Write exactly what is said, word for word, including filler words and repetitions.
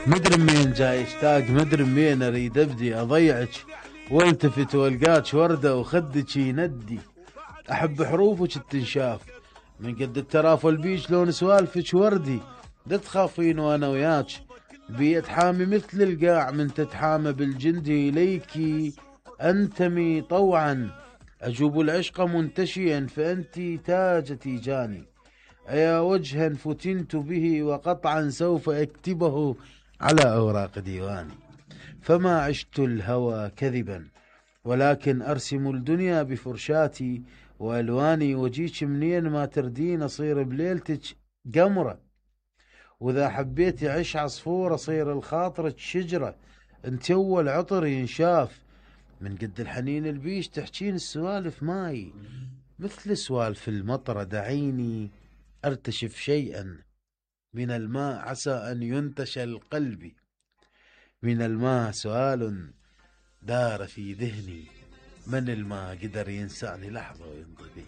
مدري منين جاي اشتاق، مدري منين اريد ابدي اضيعك والتفت والقاك ورده وخدك يندي. احب حروفك التنشاف من قد الترافل بيج لون سوالفك وردي. لا تخافين وانا وياك بيد حامي مثل القاع، من تتحامى بالجندي اليكي انتمي طوعا. اجوب العشق منتشيا فانتي تاجتي جاني. ايا وجها فتنت به وقطعا سوف اكتبه على اوراق ديواني. فما عشت الهوى كذبا ولكن ارسم الدنيا بفرشاتي والواني. وجيك منين ما تردين اصير بليلتك قمره، واذا حبيتي عش عصفور اصير لخاطرك شجره. انت اول عطر ينشاف من قد الحنين البيش تحجين السوالف ماي، مثل سوالف المطره. دعيني ارتشف شيئا من الماء عسى ان ينتشل قلبي. من الماء سؤال دار في ذهني، من الماء قدر ينساني لحظه ويمضي بي.